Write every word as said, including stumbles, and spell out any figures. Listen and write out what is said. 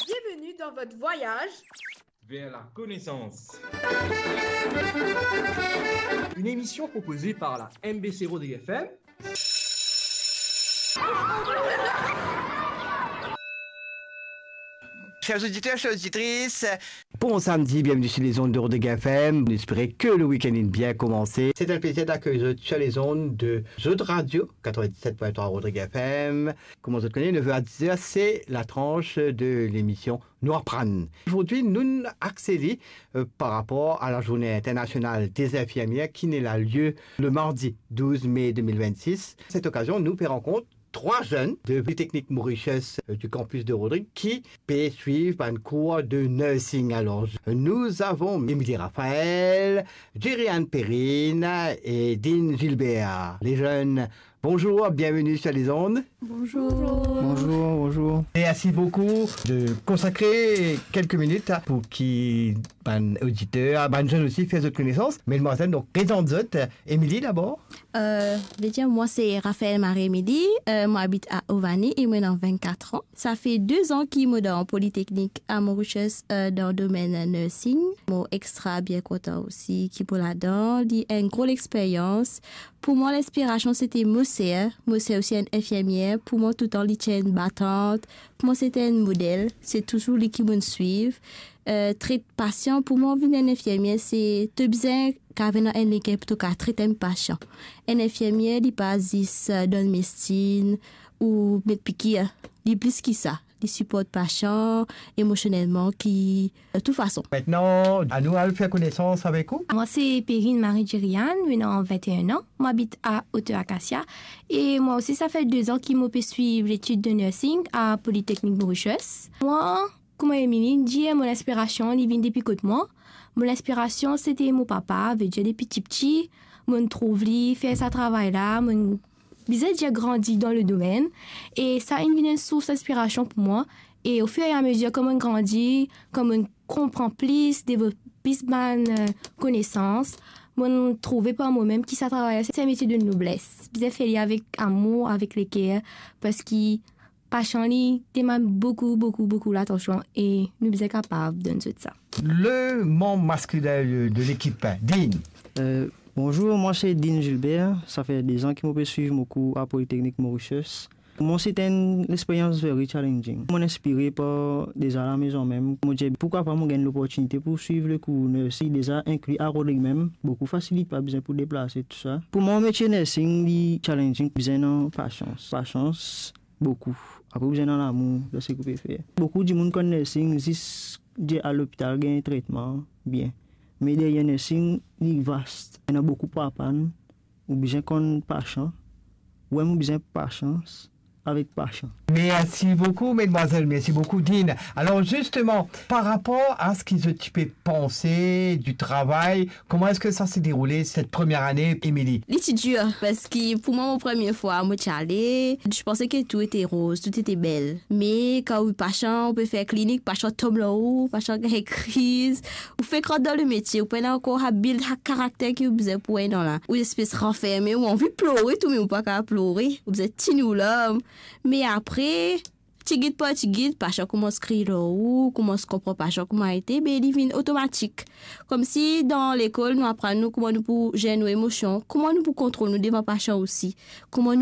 Bienvenue dans votre voyage vers la connaissance. Une émission proposée par la M B C Rodrigues F M. Chers auditeurs, chères auditrices, bon samedi, bienvenue sur les ondes de Rodrigues F M. Nou espere ke le week-end inn bien koumanse. C'est un plaisir d'accueillir zot sur les ondes de zot radio, quatre-vingt-dix-sept point trois Rodrigues F M. Kouma zot kone, nev er a diz er, c'est la tranche de l'émission Nou Aprann. Zordi, nou axe li, euh, par rapport à la Journée internationale des infirmières qui nera lieu le mardi douze mai deux mille vingt-six. À cette occasion, nou pe rankont trwa zenn de Polytechnique Mauritius, euh, du campus de Rodrigues ki pe swiv bann kour de nursing. Alors, nous avons Émilie Raphaël, Jeriane Perrine et Dean Gilbert. Les jeunes, bonjour, bienvenue sur les ondes. Bonjour. Bonjour, bonjour. Merci beaucoup de consacrer quelques minutes pou ki bann oditer, bann zenn osi fer zot konesans. Medmwazel, donk, prezant zot. Émilie, dabor. Euh, vedir, mwa se Raphaël Marie Émilie, euh, mo abit a Ovani e mo ena vennkat an. Sa fer de zan ki mo dan Polytechnique à Mauritius, euh, dan domenn nursing. Mo extra bien kontan osi ki mo ladan. Li enn gro lexperyans. Pou mwa, linspirasion, sete mo ser. Mo ser osi enn infirmier. Pou mwa, toutan, li ti enn batant. Pou mwa, sete enn model. Se touzour li ki mo'nn swiv. Euh, tret pasian, pou mwa, vinn enn infirmier, se to bizin kapav ena enn leker pou to kapav tret enn pasian. Enn infirmier, li pa zis, euh, donn medsin ou met pikir. Li plis ki sa. Li siport pasian, emosionelman, ki, euh, tou fason. Maintenant, anou al fer konesans avek ou. Mwa se Perrine Marie Jeriane, mo ena vennteen an, mo abit a Hauteur Acacia, e mwa osi sa fer de zan ki mo pe swiv letid de nursing a Polytechnique Mauritius. Mwa, kouma Émilie dir, mo linspirasion, li vinn depi kot mwa. Mo linspirasion, sete mo papa, vedir depi tipti, mo'nn trouv li fer sa travay la, mo'nn bizin dir grandi dan le domenn, e sa inn vinn enn sours inspirasion pou mwa. E au fur et à mesure, kan mo'nn grandi, kan mo'nn konpran plis, devlop plis bann, euh, konesans, mo'nn trouve par momem ki sa travay la, se enn metie de nobles. Bizin fer li avek amour, avek leker, parski pasian li demann boukou, boukou, boukou latansion e nou bizin kapav donn zot sa. Le manb masklin de, de lekip, Dean. Euh, bonzour, mwa se Dean Gilbert. Sa fer de zan ki mo pe swiv mo kour a Polytechnique Mauritius. Mwa, se enn lexperyans very challenging. Mo'nn inspire par deza lamezon mem. Mo dir, poukwa pa mo gagn loportinite pou swiv le kour nursing deza inkli a Rodrigues mem. Boukou fasilite, pa bizin pou deplase, tou sa. Pou mwa, metie nursing, li challenging, bizin ena pasians. Pasians, boukou. Apre, ou bizin ena lamour dan seki ou pe fer. Boukou dimoun konn nursing zis dir al lopital, gagn tretman, bien. Me deryer nursing, li vast. Ena boukou pou aprann. Ou bizin konn pasian. Ou mem ou bizin pasians avek pasian. Merci beaucoup, mesdemoiselles. Merci beaucoup, Dean. Alors, justement, par rapport à ce ki zot ti pe panse du travail, comment est-ce que ça s'est déroulé cette première année, Émilie ? Li ti dir, parski pou mwa, mo premie fwa, mo ti ale, je pensais que tout était rose, tout était belle. Me kan ou pasian, ou pe fer klinik, pasian tom lor ou, pasian gagn kriz, ou fek rant dan le metie, ou pena ankor sa build sa karakter ki ou bizin pou ena la. Ou espes ranferme, ou anvi plore tou, me ou pa kapav plore, ou bizin tini ou larm. Me apre, tigit par tigit, pasian koumans kriy lor ou, koumans konpran pasian kouma ete, be li vinn otomatik. Koumsi dan lekol, nou aprann nou kouma nou pou zer nou emosion, kouma nou pou kontrol nou devan pasian osi, kouma